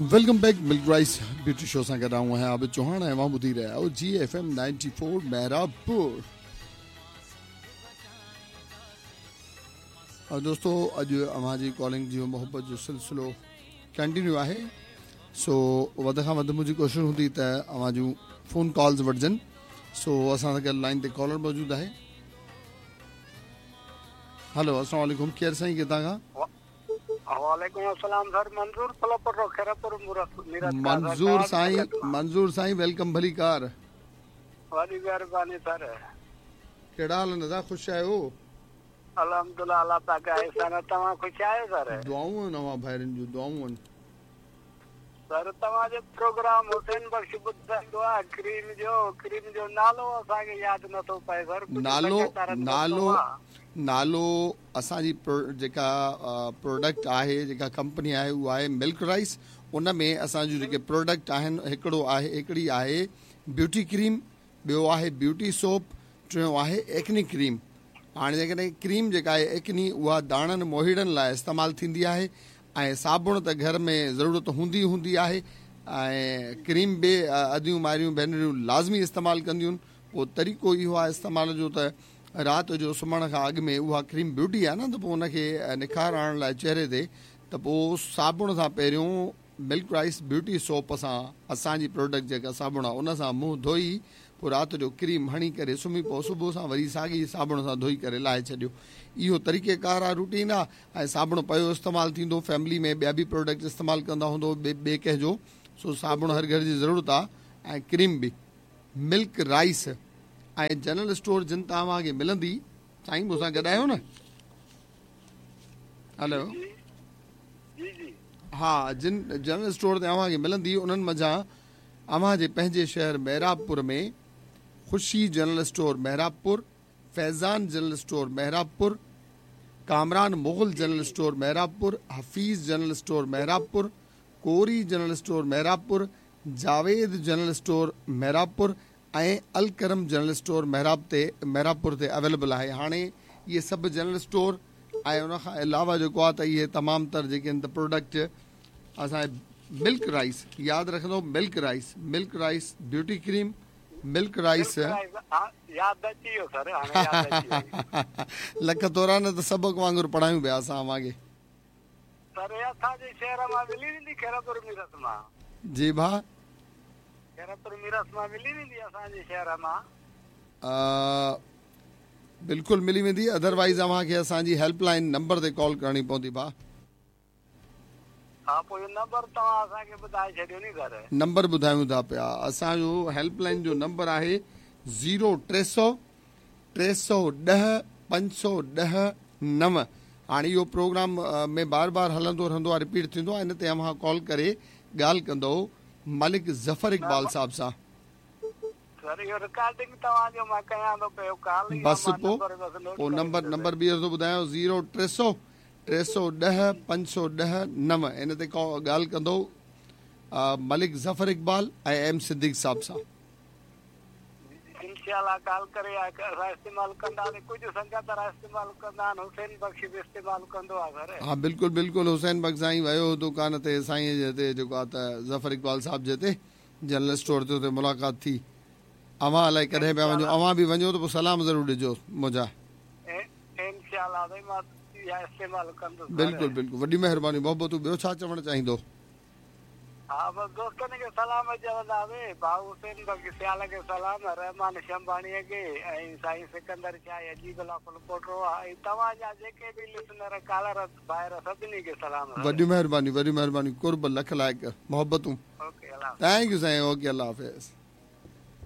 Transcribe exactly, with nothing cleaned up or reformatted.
Welcome back Milk Rice Beauty Show सां गॾु आउं आहियां आबिद चौहान ऐं मां ॿुधी रहिया आहियो जी एफ एम नाइंटी फोर मेहराबपुर। और दोस्तो अॼु अव्हां जी कॉलिंग जो मोहबत जो सिलसिलो कंटिन्यू आहे, सो वध खां वधि मुंहिंजी कोशिशि हूंदी त अव्हां जूं फ़ोन कॉल्स वठिजनि। सो असां सां गॾु लाइन ते कॉलर मौजूदु आहे। हेलो अस्सलाम वालेकुम, केरु साईं किथां खां? वालेकुम अस्सलाम सर, मंजूर फलपुर खैरपुर मंजूर साईं, मंजूर साईं welcome भली कार। वॾी महिरबानी सर। कहिड़ा हाल आहिनि दादा, ख़ुशि आहियो? अल्हम्दुलिल्लाह, अल्लाह पाक जा एहसान। तव्हां ख़ुशि आहियो सर? दुआऊं आहिनि अव्हां भाइरनि जूं, दुआऊं आहिनि सर। तव्हांजो प्रोग्राम हुसैन बख़्श ॿुधाईंदो आहे क्रीम जो, क्रीम जो नालो असांखे यादि नथो पए सर। नालो नालो नालो असांजी जेका प्रोडक्ट आहे, जेका कंपनी आहे उहा आहे मिल्क राइस। उन में असांजो जेके प्रोडक्ट आहिनि, हिकिड़ो आहे, हिकिड़ी आहे ब्यूटी क्रीम, ॿियो आहे ब्यूटी सोप, टियों आहे एक्नी क्रीम। हाणे जेकॾहिं क्रीम जेका आहे एक्नी, उहा दाणनि मोहिड़नि लाइ इस्तेमालु थींदी आहे ऐं साबुण त घर में ज़रूरत हूंदी हूंदी आहे ऐं क्रीम बि अदियूं मारियूं भेनरियूं लाज़मी इस्तेमालु कंदियूं आहिनि। पोइ तरीक़ो इहो आहे इस्तेमाल जो त राति जो सुम्हण खां अॻु में उहा क्रीम ब्यूटी आहे न, त पोइ उनखे निखार आणण लाइ चेहरे ते त पोइ साबुण सां पहिरियों मिल्क राइस ब्यूटी सोप सां असांजी प्रोडक्ट जेका साबुण आहे उन सां मुंहुं धोई पोइ राति जो क्रीम हणी करे सुम्ही पओ, सुबुह सां वरी साॻी साबुण सां धोई करे लाहे छॾियो। इहो तरीक़ेकार आहे, रूटीन आहे। ऐं साबुण पियो इस्तेमालु थींदो, फैमिली में ॿिया बि प्रोडक्ट इस्तेमालु कंदा हूंदो ॿिए ॿिए कंहिंजो। सो साबुण हर घर जी ज़रूरत आहे ऐं क्रीम बि। मिल्क राइस ऐं जनरल स्टोर जिन तां तव्हांखे मिलंदी। साईं मूंसां गॾु आहियो न? हेलो हा, जिन जनरल स्टोर ते तव्हांखे मिलंदी उन्हनि मंझां अव्हांजे पंहिंजे शहर मेहराबपुर में Khushi general store Mehrabpur, Faizan general store Mehrabpur, Kamran Mughal general store Mehrabpur, Hafeez general store Mehrabpur, Kori general store Mehrabpur, Javed general store Mehrabpur ऐं अलकरम जनरल स्टोर मेहराब ते मेहराबपुर ते अवेलेबल आहे। हाणे इहे सभु जनरल स्टोर ऐं उन खां अलावा जेको आहे त इहे तमामु तर जेके आहिनि त प्रोडक्ट असांजे मिल्क राइस, यादि रखंदो Milk Rice, Milk Rice beauty cream, Milk Rice lakh थोरा न त सबक़ वांगुरु पढ़ायूं पिया असां अव्हांखे। जी भाउ, बिल्कुलु मिली वेंदी। अदरवाइज़ अव्हांखे असांजी हेल्पलाइन नंबर ते कॉल करणी पवंदी भाउ। नंबर ॿुधायूं था पिया। असांजो हेल्पलाइन जो नंबर आहे ज़ीरो टे सौ टे सौ ॾह पंज सौ ॾह नव। हाणे इहो प्रोग्राम में बार बार हलंदो रहंदो आहे, रिपीट थींदो आहे। इन ते अव्हां कॉल करे ॻाल्हि कंदव मलिक ज़फ़र इक़बाल साहब सां। बसि पोइ पोइ नंबर नंबर ॿीहर थो ॿुधायां, ज़ीरो टे सौ टे सौ ॾह पंज सौ ॾह नव। इन ते ॻाल्हि कंदो मलिक ज़फ़र इक़बाल ऐं एम सिद्दीक़ साहब सां। हा बिल्कुलु बिल्कुलु, हुसैन बख़्श साईं वियो दुकान ते साईं जे ते जेको आहे त ज़फ़र इक़बाल साहब जे ते जनरल स्टोर ते हुते मुलाक़ात थी। अव्हां अलाए कॾहिं पिया वञो, अव्हां बि वञो त पोइ सलाम ज़रूरु ॾिजो मुंहिंजा। बिल्कुलु बिल्कुलु, वॾी महिरबानी, मोहबतूं। ॿियो छा चवणु चाहींदो? हा बसि दोस्तनि खे सलाम चवंदासीं, भाऊ हुसैन बख़्श सियाल खे सलाम, रहमान शंभाणीअ खे ऐं साईं सिकंदर शाह अजीब फुलपोटो ऐं तव्हांजा जेके बि लिसनर कॉलर भाइर सभिनी खे सलाम। वॾी महिरबानी, वॾी महिरबानी, कुर्ब, लख लाइक़, मोहबतूं। ओके, अल्लाह thank you Sain. Okay, अल्लाह हाफ़िज़।